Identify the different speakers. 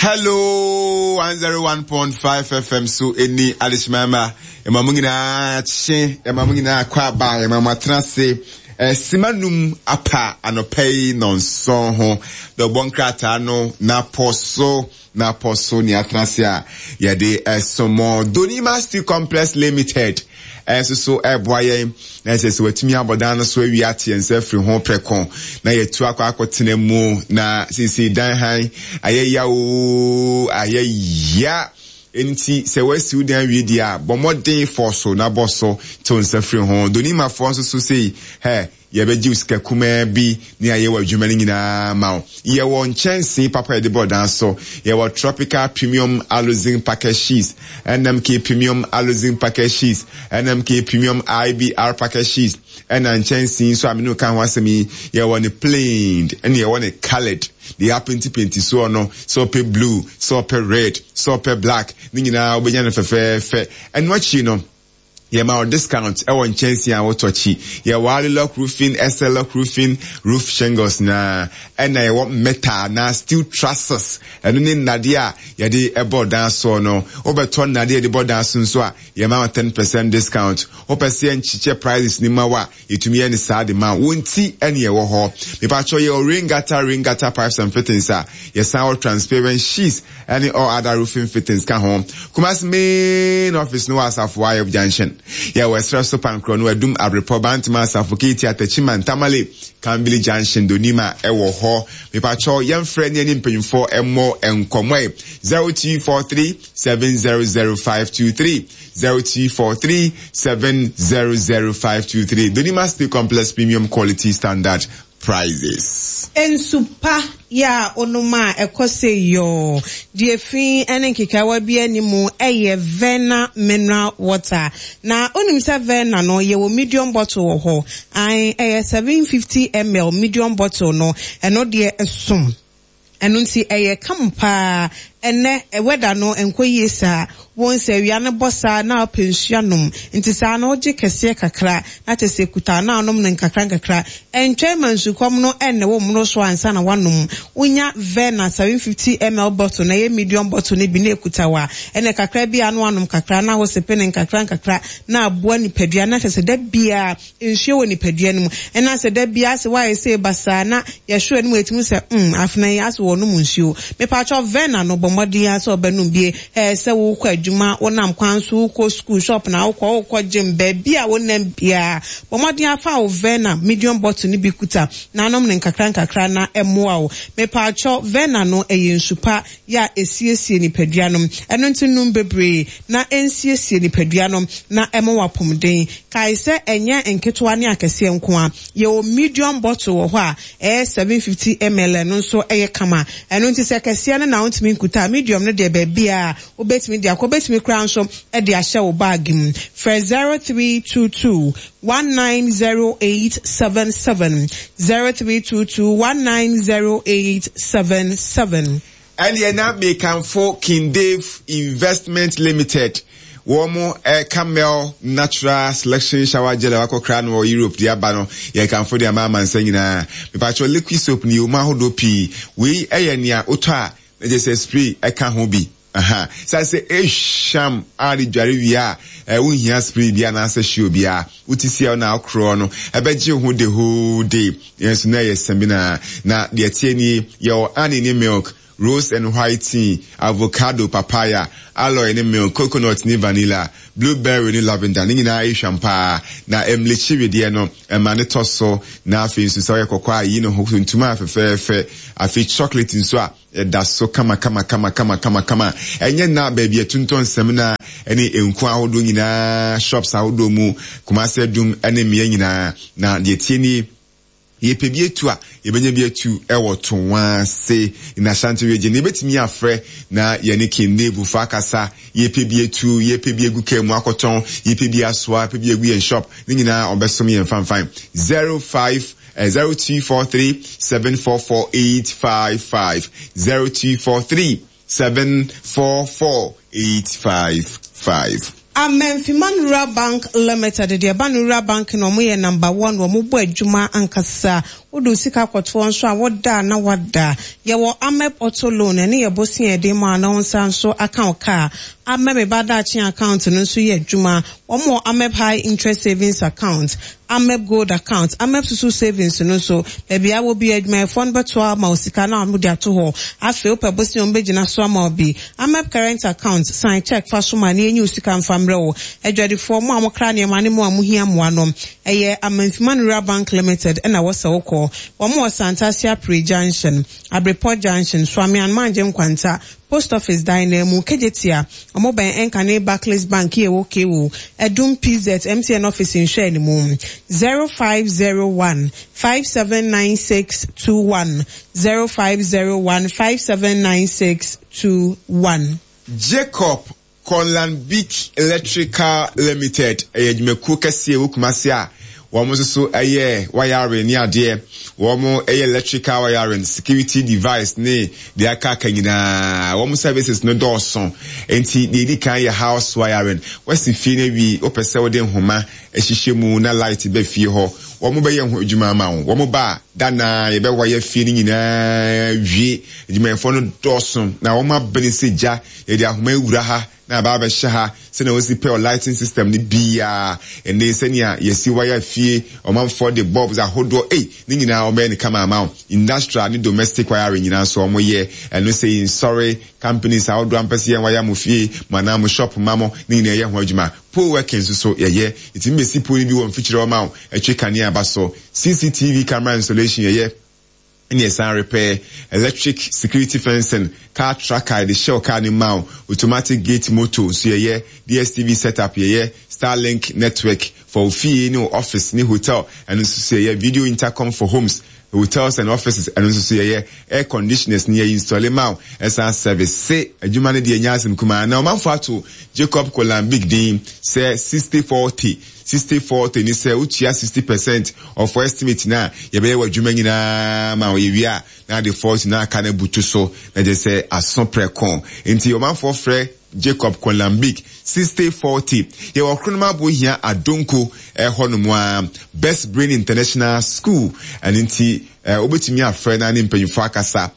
Speaker 1: Hello 101.5 FM so ɛni adehyema ma ɛma mo nyinaa kye ɛma mo nyinaa kɔ aba ɛma mo atena ase sima num apa anɔpa yi nɔnson ho dɔbɔ nkrataa no na pɔ so na pɔ so ne atena ase a yɛde ɛsomɔ Donima Steel Complex Limited nso so ɛreboa yɛn na ɛsɛ sɛ watumi abɔ dan no so awie ate yɛn nsa afiri ho prɛko na yɛatu akɔ akɔtena mu na seesei dan han ayɛ ya oo ayɛ ya nti sɛ wasi wo dan awie deɛ a bɔ mmɔden fɔ so na bɔ so te wo nsa firi ho donimafoɔ nso so sei hɛ Yɛbɛgye wo sika kumaa bi ne ayɛ w'adwuma no nyinaa ama wo. Yɛwɔ nkyɛnsee papa a yɛde bɔ dan so. Yɛwɔ Tropical Premium Aluzinc Package Sheets, NMK Premium Aluzinc Package Sheets, NMK Premium IBR Package Sheets, ɛna nkyɛnsee nso a me ne wo ka ho asɛm yi, yɛwɔ no plain ɛna yɛwɔ no coloured. Deɛ yɛapentipenti soɔ no, sɛ wopɛ blue, sɛ wopɛ red, sɛ wopɛ black, ne nyinaa wobɛnya no fɛfɛɛfɛ. Ɛno akyi no, Yɛma wo discount wɔ nkyɛnsee a wotɔ akyi. Yɛwɔ Alilock Roofing, Esselock Roofing, roof shingles nyinaa. Ɛna yɛwɔ metal anaa steel trusses. Ɛno ne nnadeɛ a yɛde bɔ dan soɔ no. Wobɛtɔ nnadeɛ a yɛde bɔ dan so nso a, yɛma wo 10% discount. Wopɛ sɛ yɛnkyekyɛ prices no ma wo a, yɛtumi yɛ no saa de ma wo. Wo nti ɛne yɛwɔ hɔ. Mepakyɛw yɛwɔ rain gutter, rain gutter pipes and fittings a yɛsan wɔ transparent sheets ɛne all other roofing fittings ka ho. Kumasi main office no wɔ Asafo Ayɔb Junction. Yɛwɔ Ɛserɛ so Pankorɔ no, Adum, Abrepɔ, Bantama, Asafo, Keiti, Atachiman, Tamale, Kambili Junction, Donima ɛwɔ hɔ. Mepakyɛw yɛmfrɛ ne yɛne mpanyinfoɔ ɛmmɔ nkɔmmɔ ɛ. 0243 700523. 0243 700523 Donima Steel Complex Premium Quality Standard Prices.
Speaker 2: Nsu pa yɛ a wonom a ɛkɔ sɛ yɔɔ, deɛ fi ne nkekaawa biara nni mu yɛ Verna Mineral Water. Na wonim sɛ Verna no yɛwɔ medium bottle wɔ hɔ? Ae, ɛyɛ 750 ml medium bottle no, ɛno deɛ ɛsom. Ɛno nti ɛyɛ kama paa. Ɛnnɛ weather no nkɔ yie saa. Wohu sɛ awia no bɔ saa na wopɛ nsuo anom. Nti saa no wogye kɛseɛ kakra na kyerɛ sɛ ɛkuta na wonom no nkakra nkakra. Ɛntwɛn ma nsukɔm no nne wo mmoro so ansa na woanom. Wonya Verna 750 ml bottle no, ɛyɛ medium bottle no bi na ɛkuta wo a, ɛnna kakra bi a na woanom kakra na wosepe no nkakra nkakra na aboa nipadua no na kyerɛ sɛ da biara Nsuo wɔ nipadua no mu. Ɛna sɛ da biara sɛ woayɛ sei basaa na yɛhwɛ w'anim a yɛtumi hu sɛ mm afena yi asɛ wɔnom nsuo. Mepakyɛw Verna no bɔ mmɔden ara sɛ ɔbɛnom bie. Ɛɛ sɛ wokɔ adwuma, wonam kwan so, wokɔ sukuu, shop na wokɔ, wokɔ gym, baabi a wonam biara bɔ mmɔden ara fa wo Verna medium bottle no bi kuta na nom no nkakra nkakra na ɛmmoa wo. Mepakyɛw Verna no ɛyɛ nsu pa yɛ a ɛsiesie nipadua no. Ɛno nti nom bebree na ɛnsiesie nipadua no na ɛma wo apomuden. Kae sɛ ɛnyɛ nketewa ne akɛseɛ nko ara. Yɛwɔ medium bottle wɔ hɔ a ɛyɛ 750 ml ɛno nso yɛ kama. Ɛno nti sɛ kɛseɛ no na wontumi nkuta a, medium no deɛ baabiara wobɛtumi de akɔ. Wobɛtumi koraa nso de ahyɛ wo bag mu. Frɛ 0322 190877, 0322 190877.
Speaker 1: Ɛnneɛ na mekamfo King Dave Investment Limited, wɔn eh, Camel Natural Selection Shower Gel a wakɔkra no wɔ Europe de aba no, yɛkamfo de ama amansa nyinaa. Mepakyɛw liquid soap no yɛwɔ mu ahodoɔ pii. Wei yɛ nea wotɔ a na kyerɛ sɛ spray ɛka ho bi. Aha, sane sɛ ehwam a de dware wie a, eh, wonhia spray bi anaasɛ show biara. Wote si a na akorɔ no, ɛbɛgye wo ho the whole day. Nanso na ɛyɛ samina. Na deɛ ɛteɛ nie, yɛwɔ honey ne milk, rose and white tea, avocado, papaya, aloe ne milk, coconut ne vanilla, blueberry ne lavender. Ne nyinaa ɛhwam paa. Na ɛmlekyi wedeɛ no, ɛma ne tɔ so. Na afei nso sɛ ɔyɛ kɔkɔɔ a, yi ne ho tuntum a fɛfɛɛfɛ. Afei chocolate nso a, Ɛda so kamakamakamakamakamakamakama. Ɛnyɛ nna baabi a ɛtontɔn samina ne nku ahodoɔ nyinaa, shops ahodoɔ mu, Kumasi Adum ne mmea nyinaa. Na deɛ ɛteɛ nie, yɛpɛ bi atu a, yɛbɛnya bi atu wɔ Toase in Ashanti region. Yɛbɛtumi afrɛ na yɛne King Nebufoɔ akasa. Yɛpɛ bi atu, yɛpɛ bi agu kaa mu akɔtɔn, yɛpɛ bi asoa, yɛpɛ bi agu yɛn shop. Ne nyinaa wɔbɛsom yɛn fanfan. 05 0243 744 855 0243 744 855.
Speaker 2: Amenfiman Rural Bank Limited deɛ ɛba no Rural Bank no wɔn yɛ number one wɔn bɔ adwuma ankasa. Wode wo sika kɔtoɔ nso a, woda a na woada. Yɛwɔ Amep Auto Loan, ɛno yɛ bosea a yɛde ma wo na wo nsa nso aka wo kaa. Amep Me Ba Daakye Account no nso yɛ adwuma. Wɔn wɔ Amep High Interest Savings Account, Amep Gold Account, Amep Susu Savings no nso, baabi a wɔ biara adwumayɛfoɔ no bɛtoa ama wo sika na wɔde ato hɔ. Afei wopɛ bosea a wɔbɛgyina so ama wo bi. Amep Current Account, sign check fa so ma na yɛnyi wo sika mfa mmerɛ wo. Adwadifoɔ, mo a mokra nneɛma ne mo a mohia mmoa no, ɛyɛ Amanfima Rural Bank Limited na ɛwɔ sɛ wokɔ. Wɔn wɔ Santase Apre Junction, Abrepɔ Junction, Suame Anmangye Nkwanta, Post Office dan no mu, Kejetia, wɔn bɛn Nkane Barclays Bank yi a ɛwɔ KO, Adum PZ, MTN Office nhwɛanimu. 0501 579621, 0501 579621.
Speaker 1: Jacob Conlanbic Electrical Limited yɛ adwumakuo kɛseɛ ɛwɔ Kumasi a wɔn nso so yɛ wiring ne adeɛ. Wɔn yɛ electrical wiring, security device ne deɛ aka aka nyinaa. Wɔn services no dɔɔso. Nti deɛ ɛdi kan yɛ house wiring. Wasi fie no awie, wopɛ sɛ wode nhoma hyehyɛ mu na light ba fie hɔ. Wɔn bɛyɛ ho adwuma ama wo. Wɔn ba a, da no ara yɛbɛ wire fie no nyinaa wie. Adwumayɛfoɔ no dɔɔso na wɔn abene sɛ gya. Yɛde ahoma awura ha na aba abɛhyɛ ha sɛnea wosi pɛ lighting system no biara. Ɛnde sɛnea yɛsi wire fie, ɔmanfoɔ de bulbs ahodoɔ, ei, ne nyinaa wɔbɛyɛ no kama ama wo. Industrial ne domestic wiring nyinaa nso wɔyɛ. Ɛno sɛ nsɔre companies ahodoɔ a mpɛ sɛ yɛn wire mo fie, mo anaa mo shop ma mo, ne nyinaa yɛyɛ ho adwuma. Pole working nso so yɛyɛ. Yɛtumi bɛsi pole no bi wɔ mfikyire hɔ ma wo, ɛtwe kanea ba so. CCTV camera installation yɛyɛ. Ɛna ɛsan repair electric security fencing, car tracker yɛde hyɛ wo car no mu ma wo, automatic gate motor nso yɛyɛ, DSTV setup yɛyɛ, Starlink network for wo fie ne wo office ne hotel ɛno nso so yɛyɛ, video intercom for homes, hotels and offices ɛno nso so yɛyɛ, air conditioners no yɛ installe ma wo, ɛsan service se adwuma no deɛ ɛnyɛ asɛm kumaa. Na ɔmanfoɔ ato Jacob Kolambik din sɛ 6040. 60 40 ne sɛ wotua 60 percent of estimate no a yɛbɛyɛ w'adwuma nyinaa ma yɛwie a na ade 40 na aka no abutu so na kyerɛ sɛ aso prɛko. Nti ɔmanfoɔ frɛ Jacob Kolambik 60 40. Yɛwɔ Kronom Abohia Adonko ɛhɔ nom a Best Brain International School, ɛno nti wobɛtumi afrɛ na ne mpanyinfoɔ akasa.